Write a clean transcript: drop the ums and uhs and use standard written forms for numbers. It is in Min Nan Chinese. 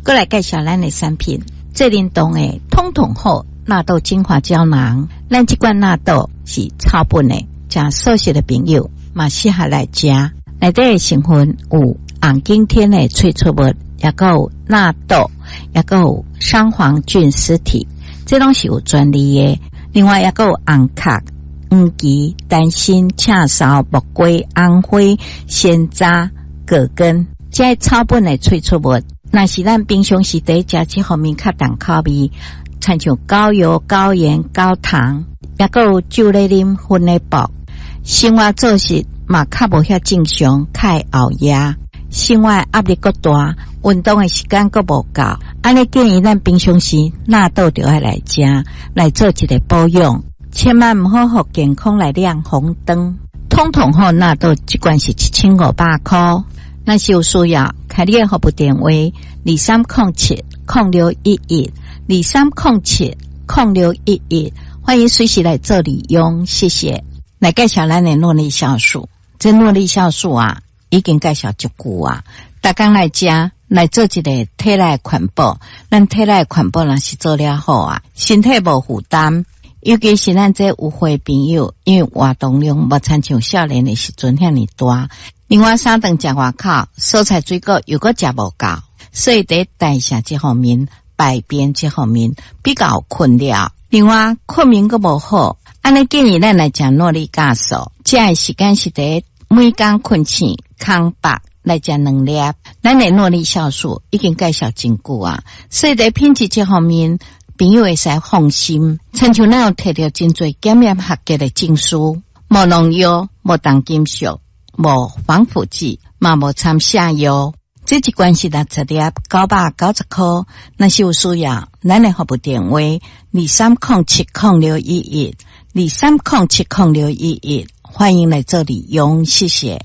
閣來介紹咱的產品，濟仁堂的通通好納豆精華膠囊。咱這款納豆是草本的，食素食的朋友嘛適合來食。內底的成分有紅景天的萃取物，抑閣有納豆，抑閣有桑黃菌絲體，這攏是有專利的。另外，抑閣有紅殼、黃芪、丹參、赤芍、木瓜、紅花、山楂、葛根，這草本的萃取物。若是咱平常時佇食這方面較重口味，親像高油、高鹽、高糖，抑閣有酒咧啉、薰咧薄，生活作息嘛較無遐正常，較會熬夜，生活壓力閣大，運動的時間閣無夠，按呢建議咱平常時納豆就愛來食，來做一个保養，千萬毋好予健康來亮紅燈。通通好納豆這罐是1500箍。若是有需要，開你的服務電話2307061123070611，歡迎隨時來做利用，謝謝。來介紹咱的諾麗酵素，這諾麗酵素啊，已經介紹足久啊，逐工來食，來做一個體內環保。咱體內環保若是做了好啊，身體無負擔。尤其是咱這有歲朋友，因為活動量無親像少年的時陣遐爾大。另外三頓食外口，蔬菜水果又閣食無夠，所以佇代謝這方面、排便這方面比較有困擾。另外睏眠閣無好，按呢建議咱來食諾麗酵素，食的時間是佇每工睏醒空腹來食兩粒。咱的諾麗酵素已經介紹真久啊，所以佇品質這方面，朋友會使放心。親像咱有提著真濟檢驗合格的證書，無農藥、無重金屬、無防腐劑，嘛無摻瀉藥。這一罐是60粒，990箍。若是有需要，咱的服務電話23070611，23070611，歡迎來做利用，謝謝。